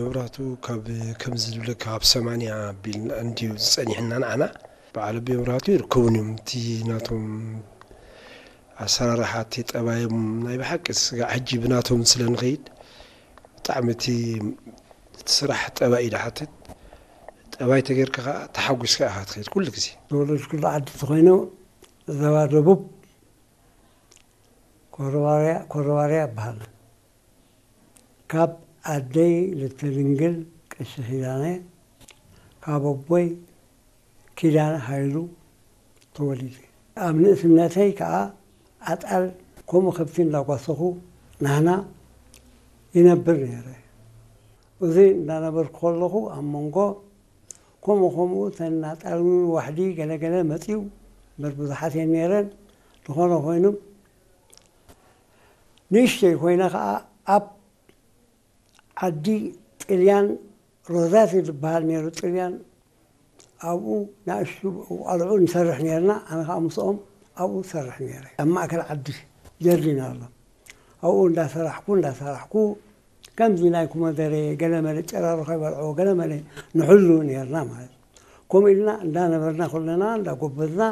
መብራህቱ ካብ ከምዚ ዝብለካ ካብ ሰማንያ ኣቢልና እንድዩ ዝጸኒሕና ንዓና። በዓል ኣቢ መብራህቱ ይርከቡን እዮም። እቲ ናቶም ኣሰራርሓ፣ እቲ ጠባዮም ናይ ብሓቂ ስጋዕ ሕጂ ብናቶም ስለ ንኸይድ ብጣዕሚ እቲ እቲ ስራሕ ጠባይ እዩ ዝሓትት። ጠባይ ተጌርካ ከኣ ተሓጒስካ ኢኻ ትኸይድ ኩሉ ግዜ። ተወለድኩሉ ዓዲ ተኾይኑ ዞባ ደቡብ ኮረባርያ፣ ኮረባርያ ይበሃል። ካብ ኣደይ ልተድንግል ቀሺ ኪዳነ፣ ካብ ኣቦይ ኪዳነ ሃይሉ ተወሊደ። ኣብ ንእስነተይ ከኣ ኣጣል ከምኡ ከብቲ እንዳጓሰኹ ናህና ይነብር ነይረ። እዚ እንዳነበርኩ ከለኹ ኣብ መንጎ ከምኡ ከምኡ እተን ኣጣል ዋሕዲ ገለ ገለ መፅዩ እምበር ብዙሓት እየን ነይረን። ዝኾነ ኮይኑ ንእሽተይ ኮይነ ከኣ ኣብ ዓዲ ጥልያን ሮዛቲ ዝበሃል ነይሩ ጥልያን ኣብኡ ንኣሽቱ ቆልዑ ንሰርሕ ነርና። ኣነ ከዓ ምስኦም ኣብኡ ዝሰርሕ ነይረ። ኣብ ማእከል ዓዲ ጀርዲን ኣሎ። ኣብኡ እንዳሰራሕኩ እንዳሰራሕኩ ከምዚ ናይ ኮመደረ ገለመለ ጨራሩ ከይበልዖ ገለመለ ንሕሉ ነርና ማለት እዩ። ከምኡ ኢልና እንዳነበርና ኩለና እንዳጎበዝና